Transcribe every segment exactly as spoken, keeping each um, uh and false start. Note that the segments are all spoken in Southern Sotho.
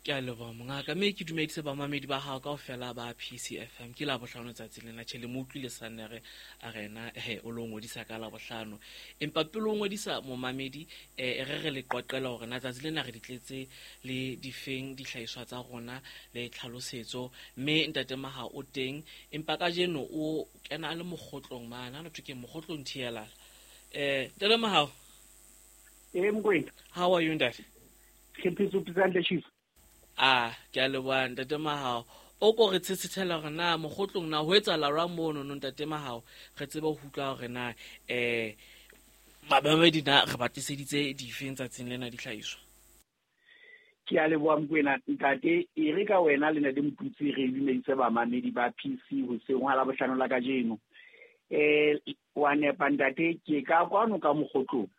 Ke a leboha mongaka, mme ke dumedise bamamedi ba hao kaofela ba P C F M. Ke Labohlano tsatsi lena, tjhe le mo utlwile Sannere a rena, he o lo ngodisa ka Labohlano. Empa pele o ngodisa momamedi, eh, re re le qoqela hore na tsatsi lena re di tletse le difeng dihlahiswa tsa rona le tlhalosetso, mme ntate Maha o teng, empa kajeno o kena a le mokgotlong mane, ha no thwe ke mokgotlong thielala. Eh, ntate Maha. Eh, Mokoena. How are you, ntate? Ke phetse phetse chief. Ah, ke a leboha ntate Mahao. O ko re tshetshethela hore na mokgotlong na ho etsahala jwang mono no ntate Mahao, re tsebe ho utlwa hore na, eh, babamedi na re ba tliseditse difeng tsatsing lena dihlahiswa. Ke a leboha Mokoena ntate, e re ka wena le ntate Motutsi re dumedise bamamedi ba P C hoseng hwa Labohlano la kajeno. Eh, wa nepa ntate, ke ka kwano ka mokgotlong.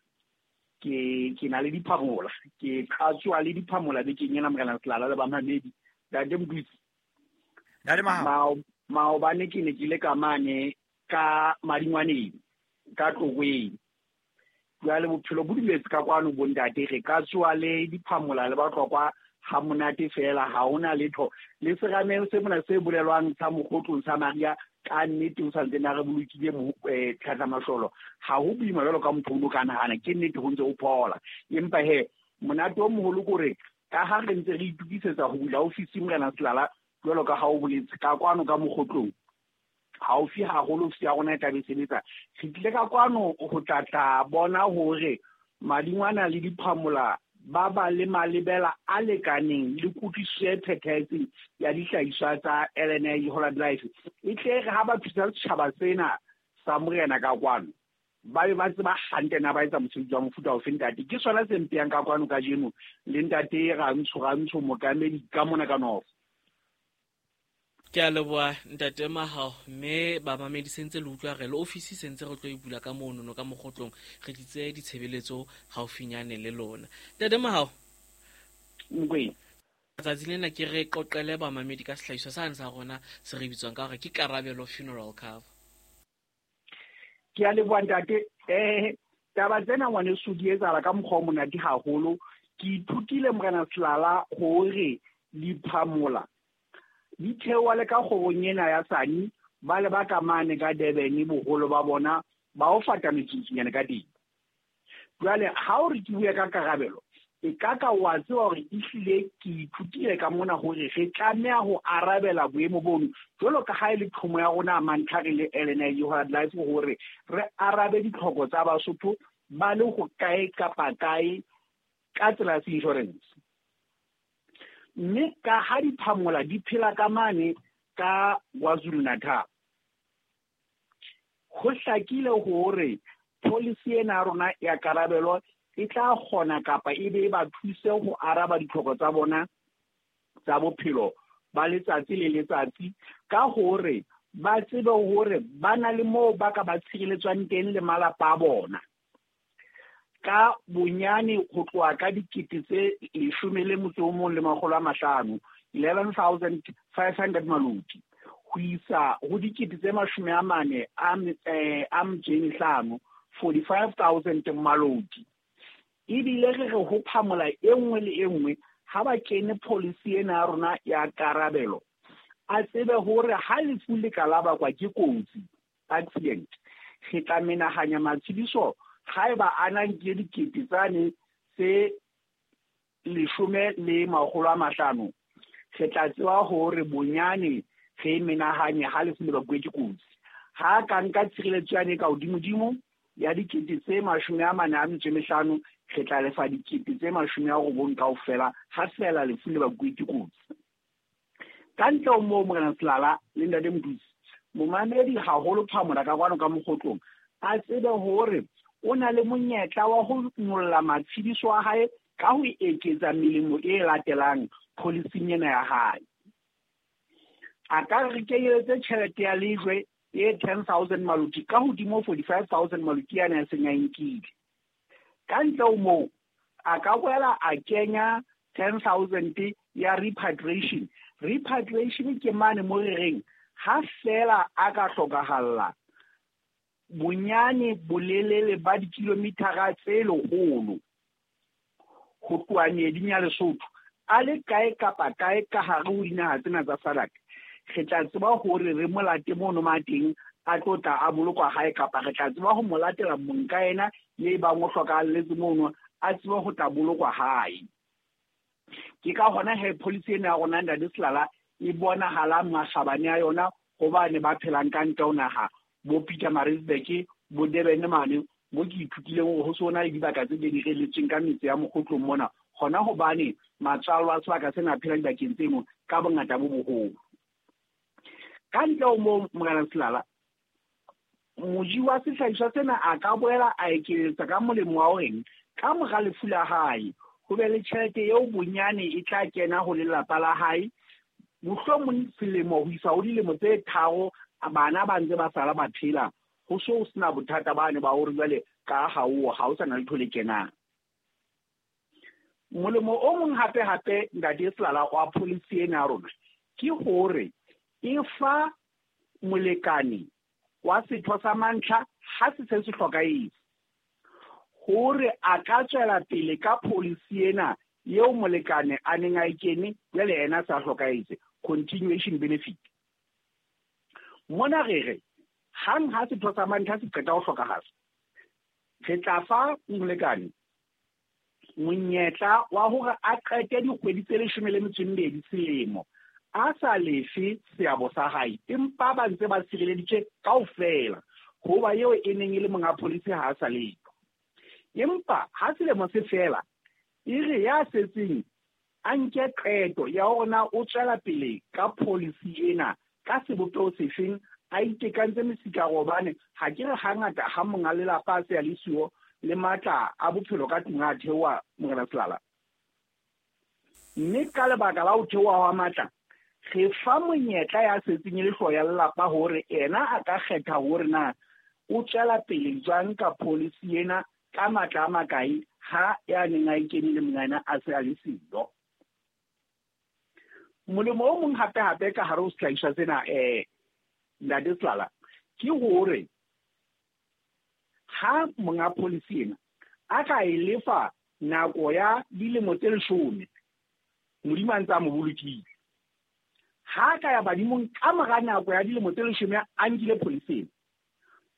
Ke, ke na le diphamola, ke qhatswa le diphamola bekeng ena Morena Selala le bamamedi. Ntate Motutsi. Ntate Mahao. Mao-, maobane ke ne ke le ka mane ka Madingwaneng, ka Tlokweng. Jwale bophelo bo dumetse ka kwano bo ntate, re ka tsoa le diphamola le Batlokwa ha monate fela, ha hona letho. Le serameng se mona se bolelwang sa mokgotlong sa Maria, ka nnete o santse na re bolokile mo, eh, tlhatlamahlolo. Ha ho boima jwalo ka motho o no ka nahana, ke nnete ho ntse o phola. Empa he, monate o moholo ke hore ka ha re ntse re itokisetsa ho bula ofisi Morena Selala, jwalo ka ha o boletse, ka kwano ka mokgotlong, haufi haholo ofisi ya rona e tla be e sebetsa. Re tlile ka kwano ho tla tla bona hore Madingwana le diphamola ba ba le malebela a lekaneng le kutlwisiso e phethahetseng ya dihlahiswa tsa L N I Holland Life. E tle re ha ba thusa setjhaba sena sa Morena ka kwano, ba be ba tseba hantle na ba etsa mosebetsi wa mofuta ofe ntate. Ke sona se mpeyang ka kwano kajeno le ntate Rantsho, Rantsho mookamedi ka mona ka North. Ke a leboha ntate Mahao, mme bamamedi sentse le utlwa re le ofisi sentse re tlo e bula ka mono no ka mokgotlong, re tlitse ditshebeletso haufinyane le lona. Ntate Mahao. Mokoena. Tsatsi lena ke re qoqele bamamedi ka sehlahiswa sane sa rona se re bitswang ka hore ke Karabelo Funeral Cover. Ke a leboha ntate. Eh, taba tsena ngwaneso di etsahala ka mokgwa o monate haholo. Ke ithutile Morena Selala hore diphamola di theoha le ka kgorong ena ya Sani, ba le ba ka mane ka Durban, boholo ba bona ba o fata metsotsunyana ka teng. Jwale ha o re ke bue ka karabelo, e ka ka wa tseba hore ehlile ke ithutile ka mona hore re tlameha ho arabela boemo bono, jwalo ka ha e le thomo ya rona mantlha re le L N I Holland Life hore re arabe ditlhoko tsa Basotho ba le ho kae kapa kae ka tsela ya insurance. Mme ka ha diphamola di phela ka mane ka KwaZulu-Natal, ho hlakile hore policy ena ya rona ya karabelo e tla kgona kapa e be e ba thuse ho araba ditlhoko tsa bona tsa bophelo ba letsatsi le letsatsi, ka hore ba tsebe hore ba na le moo ba ka ba tshireletswang teng le malapa a bona. Ka bonyane ho tloha ka dikete tse leshome le motso o mong le makgolo a mahlano, eleven thousand five hundred maloti, ho isa ho dikete tse mashome a mane a m-, eh, a metso e mehlano, forty-five thousand maloti. Ebile re re ho phamola e nngwe le e nngwe ha ba kene policy ena ya rona ya karabelo, a tsebe hore ha lefu le ka la bakwa ke kotsi, accident, re tla menahanya matshediso haeba a na nkile dikete tsane tse leshome le makgolo a mahlano, re tla tseba hore bonyane re menahanye ha lefu le bakuwe ke kotsi. Ha ka nka tshireletso yane ka hodimodimo ya dikete tse mashome a mane a metso e mehlano, re tla lefa dikete tse mashome a robong kaofela ha feela lefu le bakuwe ke kotsi. Ka ntle ho moo, Morena Selala le Ntate Motutsi, momamedi haholo phamola ka kwano ka mokgotlong, a tsebe hore o na le monyetla wa ho nyolla matshediso a hae ka ho eketsa melemo e latelang policing ena ya hae. A ka re kenyeletse tjhelete ya lejwe e ten thousand maloti ka hodimo forty-five thousand maloti ana a seng a nkile. Ka ntle ho moo, a ka boela a kenya ten thousand ya repatriation. Repatriation ke mane mo re reng ha feela a ka hlokahalla bonyane bolelele ba dikilomithara tse lekgolo ho tloha meeding ya Lesotho, a le kae kapa kae ka hare ho dinaha tsena tsa SADC, re tla tseba hore re mo late mono ma teng a tlo tla a bolokwa hae, kapa re tla tseba ho mo latela mong ka yena ye bang o hlokahalletse mono a tsebe ho tla bolokwa hae. Ke ka hona he policy ena ya rona Ntate Selala e bonahalang makgabane a yona hobane ba phelang ka ntle ho naha, bo Pietermaritzburg, bo Durban mane, mo ke ithutileng hore ho so na le dibaka tse di direletsweng ka metse ya Mokgotlong mona, hona hobane matswalo a sebaka sena a phela dibakeng tseno ka bongata bo boholo. Ka ntle ho moo, Morena Selala, moji wa sehlahiswa sena a ka boela a ekeletsa ka molemo wa horeng ka mora lefu la hae ho be le tjhelete eo bonyane e tla kena ho lelapa la hae, mohlomong selemo ho isa ho dilemo tse tharo bana ba ntse ba sala ba phela, ho so ho sena bothata bane ba hore jwale ka ha o ha o sa na letho le kenang. Molemo o mong hape hape Ntate Selala wa policy ena ya rona ke hore e fa molekane wa setho sa mantlha ha se se se hlokahetse hore a ka tswela pele ka policy ena eo molekane a neng a e kene jwale yena a sa hlokahetse, continuation benefit. Mona re re hang ha setho sa mantlha se qeta ho hlokahala, re tla fa molekane monyetla wa hore a qete dikgwedi tse leshome le metso e mmedi selemo a sa lefe seabo sa hae, empa ba ntse ba sireleditswe kaofela hoba eo e neng e le monga policy ha a sa letho. Empa ha selemo se fela, e re ya setseng a nke qeto ya hore na o tswela pele ka policy ena ka sebopeho sefeng, a itekantse mesikaro, hobane ha ke re hangata ha monga lelapa a se a le siyo le matla a bophelo ka tlung a theoha, Morena Selala. Mme ka lebaka la ho theoha hwa matla, re fa monyetla ya setseng e le hlooho ya lelapa hore ena a ka kgetha hore na o tswela pele jwang ka policy ena ka matla a makae ha ya neng a e kene le mongana a se a le siyo. Molemo o mong hape hape ka hare ho sehlahiswa sena eh Ntate Selala ke hore ha monga policy ena a ka e lefa nako ya dilemo tse leshome, Modimo a ntse a mo bolokile, ha ka ya badimong ka mora nako ya dilemo tse leshome a nkile policy ena,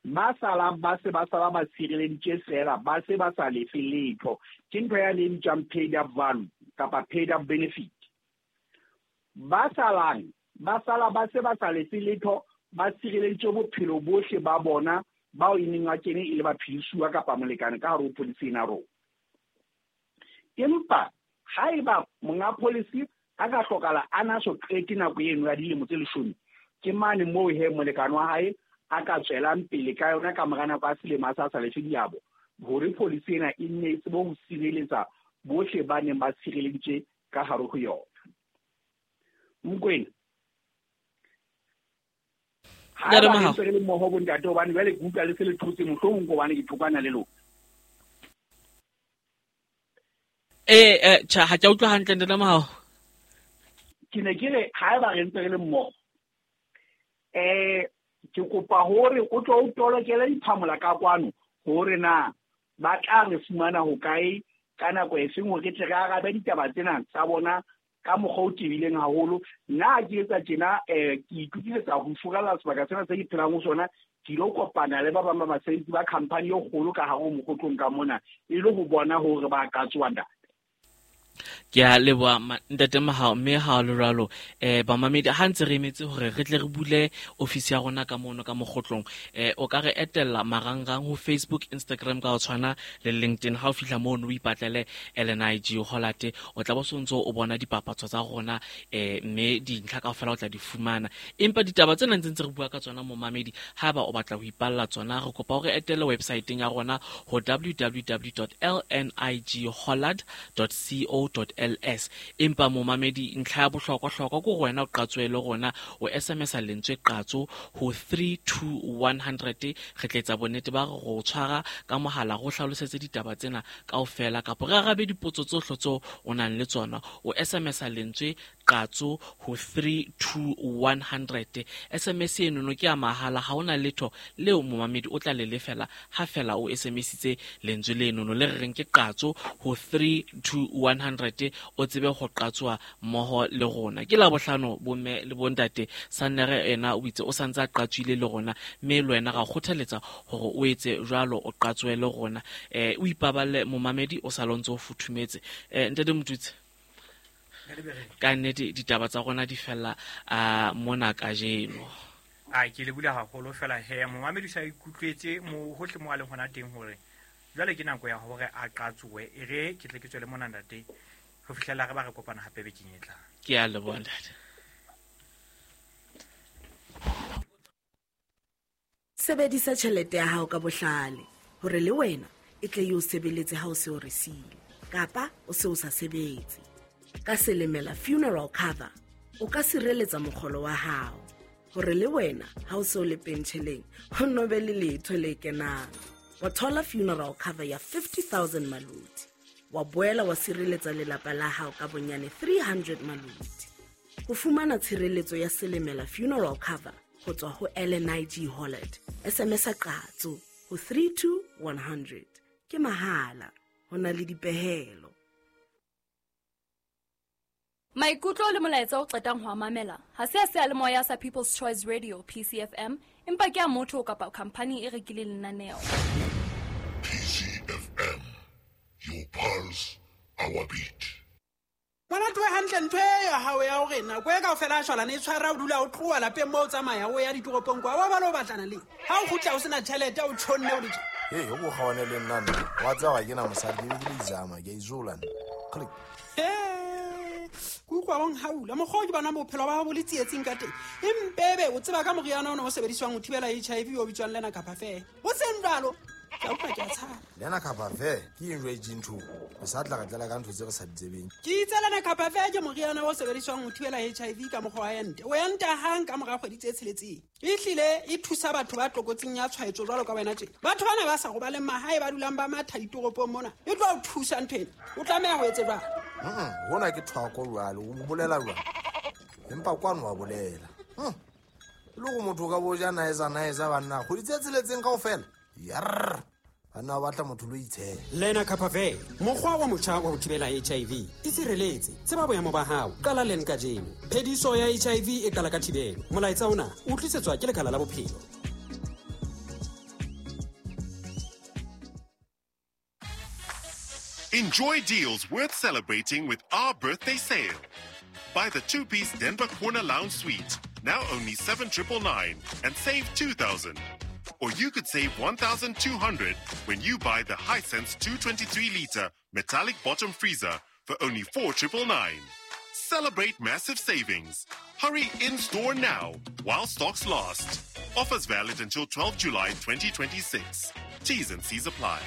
ba salang ba se ba sala ba sireleditswe fela, ba se ba sa lefe letho. Ke ntho ya le bitswang paid up value kapa paid up benefit. Ba salang ba sala ba se ba sa lefe letho, ba sireleditswe bophelo bohle ba bona bao e neng a kene e le baphedisuwa kapa molekane ka hare ho policy ena rona. Empa haeba monga policy a ka hlokahala a na so qete nako eno ya dilemo tse leshome, ke mane moo he molekane wa hae a ka tswelang pele ka yona ka mora nako ya selemo a sa sa lefe diabo, hore policy ena e nne e tsebe ho sireletsa bohle ba neng ba sireleditswe ka hare ho yona. Mokwena, ha ba ntse re le mmoho bontate, hobane jwale ke utlwa le se le thotse mohlomong hobane ke thokwana le lona. Eh eh cha ha ke utlwa hantle Ntate Mahao. Ke ne ke re haeba re ntse re le mmoho, eh ke kopa hore o tlo o tolokele diphamola ka kwano hore na ba tla re fumana hokae ka nako e feng hore re tle re arabe ditaba tsena tsa bona ka mokgwa o tebileng haholo. Nna ke etsa tjena, eh ke itokisetsa ho furalla sebaka sena se ke phelang ho sona, ke ilo kopana le ba bang ba basebetsi ba khampani e kgolo ka hare ho Mokgotlong ka mona, e le ho bona hore ba ka tsoha ntate. Ke a leboha Ntate Mahao, mme ha le jwalo eh bamamedi ha ntse re emetse hore re tle re bule ofisi ya rona ka mono ka Mokgotlong, eh o ka re etella marangrang ho Facebook, Instagram ka ho tshwana le LinkedIn. Ha o fihla mono o ipatlele L N I G Hollard, o tla bo sontso o bona dipapatso tsa rona eh mme dintlha kaofela o tla di fumana. Empa ditaba tsena ntse ntse re bua ka tsona momamedi, haeba o batla ho ipalla tsona, re kopa hore etelle website-eng ya rona ho w w w dot l n i g hollard dot co dot l s. Empa momamedi, ntlha ya bohlokwa-hlokwa ke hore wena o qatswe le rona, o S M S-a lentswe qatso ho three two one hundred. Re tla etsa bonnete ba hore o tshwara ka mohala re o hlalosetse ditaba tsena kaofela, kapa re arabe dipotso tsohle tseo o nang le tsona. O S M S-a lentswe qatso ho three two one hundred. S M S eno no ke ya mahala, ha ona letho leo momamedi o tla le lefela ha fela o S M S-itse lentswe leno no le re reng ke qatso ho three two one hundred, o tsebe ho qatswa mmoho le rona. Ke la bohlano bomme le bontate, Sannere ena o itse o santse a qatswile le rona, mme le wena ra kgothaletsa hore o etse jwalo, o qatswe le rona. Eh o ipaballe momamedi, o sa lontse o futhumetse. Eh ntate Motutsi, ka nnete ditaba tsa rona di fella a mona kajeno. A ke le bula haholo fela he momamedi sa ikutlwetse mo hohle mo a leng hona teng hore jwale ke nako ya hore a qatsoe, e re ke tle ke tswele mona ntate ho fihlela re ba re kopana hape bekeng e tlang. Ke a leboha ntate. Sebedisa tjhelete ya hao ka bohlale hore le wena e tle e o sebeletse ha o se o resile kapa o se o sa sebetse. Ka Selemela funeral cover o ka sireletsa mokgolo wa hao hore le wena ha o se o le pentjheleng ho no be le letho le kenang. Wa thola funeral cover ya fifty thousand maluti, wa boela wa sireletsa lelapa la hao ka bonyane three hundred maluti. Ho fumana tshireletso ya Selemela funeral cover ho tswa ho L N I G Holland, S M S a qatso ho three two one hundred. Ke mahala, ho na le dipehelo. Maikutlo le molaetsa o qetang ho mamela ha se a seyalemoya sa People's Choice Radio P C F M, empa ke a motho kapa company e rekileng lenaneo. P C F M, your pulse, our beat. Ngwana twe hantle ntho e ya hao ya hore nako e kaofela a shwalane e tshwara o dula o tloha lapeng moo o tsamaya o ya ditoropong kwa wa ba lo batlana le ha o kgutla o sena tjhelete o tshonne o le tje. Hey, o go gaone le nna nna wa tseba ga ke na mosadi ke be ke le izama ke a izola nna. Click. Ke utlwa bong haula mokgwa o ke bona bophelo ba bo le tsietsing ka teng, empebe o tseba ka moriana ona o sebediswang ho thibela H I V o bitswang lena kapa fe o seng jwalo. Ke a utlwa ke a tshaba. Lena kapa fe ke eng jwa ntho o sa tla re tlela ka ntho tse re sa di tsebeng. Ke itse lena kapa fe ke moriana o sebediswang ho thibela H I V ka mokgwa wa ente. O enta hang ka mora kgwedi tse tsheletseng. E hlile e thusa batho ba tlokotsing ya tshwaetso jwalo ka wena tje. Batho bana ba sa robaleng mahae ba dulang ba matha ditoropong mona. E tlo o thusa ntho ena. O tlameha ho etse jwang? Mm, hona ke thwako jwalo, o bolela jwang? Empa kwano wa bolela. Mm. Le go motho ka bo ja naesa naesa banna, kgwedi tse tsheletseng kaofela. Yarr. Banna ba batla motho lo itshela. Lena Kapave, mokgwa wa motjha wa ho thibela H I V. E sireletse, tseba boemo ba hao, qala leng kajeno. Phediso ya H I V e qala ka thibelo. Molaetsa ona o tlisetswa ke Lekala la Bophelo. Enjoy deals worth celebrating with our birthday sale. Buy the two-piece Denver Corner Lounge Suite, now only seven triple nine, and save two thousand. Or you could save one thousand two hundred when you buy the Hisense two twenty-three liter metallic bottom freezer for only four triple nine. Celebrate massive savings. Hurry in-store now while stocks last. Offers valid until twelfth July twenty twenty-six. T's and C's apply.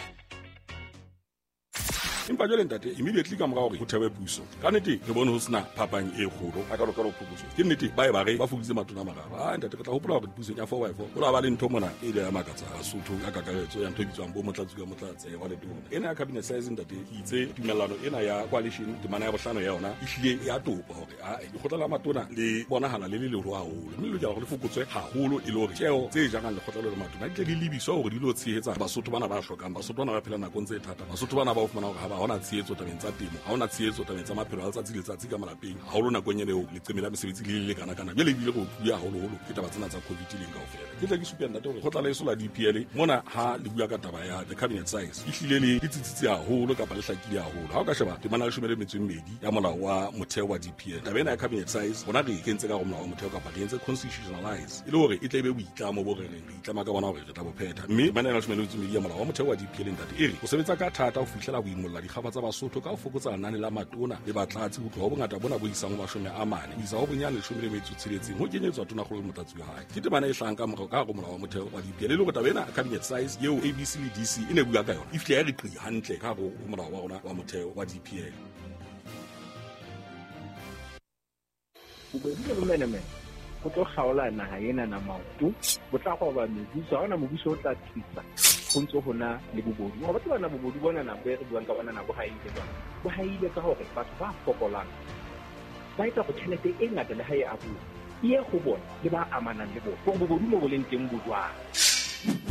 Empa jwale ntate immediately ka mora hore ho thewe puso ka nnete re bone ho sena phapang e kgolo a ka lokela ho phokotso ke nnete ba e ba re ba fokoditse matona a mararo. Ah ntate re tla hopola hore pusong ya four by four ho la ba le ntho mona e ile ya makatsa Basotho ka kakaretso ya ntho e bitswang bo motlatsi ka motlatse wa letona ena ya cabinet size ntate ke itse tumellano ena ya coalition temana ya bohlano ya yona e hlile ya topa hore a lekgotla la matona le bonahala le le leholo haholo mme le lokela hore le fokotswe haholo e le hore tjeo tse jarang lekgotla le matona di tle di lebiswa hore di lo tshehetsa Basotho bana ba hlokang, Basotho bana ba phela nakong tse thata, Basotho bana ba o fumana hore ha hona tshehetso tabeng tsa temo, ha hona tshehetso tabeng tsa maphelo a letsatsi le letsatsi ka malapeng, haholo nakong ena eo leqeme la mesebetsi le le lekana kana jwale ebile go bua haholoholo ke taba tsena tsa COVID leng kaofela. Ke tla ke supe ntate hore kgotla la eso la D P L mona ha le bua ka taba ya the cabinet size e hlile le le tsitsitse haholo kapa le hlakile haholo. Ha o ka sheba temana ya leshome le metso e mmedi ya molao wa motheo wa D P L, taba ena ya cabinet size rona re e kentse ka hare ho molao wa motheo kapa re entse constitutionalize e le hore e tle e be boitlamo bo re reng re itlama ka bona hore re tla bo phetha. Mme temana ya leshome le metso e mmedi ya molao wa motheo wa D P L ntate e re o sebetsa ka thata ho fihlela boimolla dikgaba tsa Basotho ka ho fokotsa lenane la matona le batlatsi ho tloha ho bongata bona bo isang ho mashome a mane ho isa ho bonyane leshome le metso tsheletseng ho kenyetswa tonakgolo le motlatsi wa hae. Ke temana e hlahang ka morao ka hare ho molao wa motheo wa D P L e le hore taba ena cabinet size eo A B C le D C e ne bua ka yona e fihle ya re qi hantle ka hare ho molao wa rona wa motheo wa D P L. Bobedi le bomenemene go tlo kgaola naha ena na maoto, bo tla roba mebuso, ha hona mobuso o tla thusa ho ntso hona le bobodu. Wa batho bana bobodu bona nako e re buang ka bona nako ha ile jwang, bo haile ka hore batho ba fokolang Ba etsa hore tjhelete e ngata le ha e abuwa e ye ho bona le ba amanang le bona. Hore bobodu mo bo leng teng bo jwang.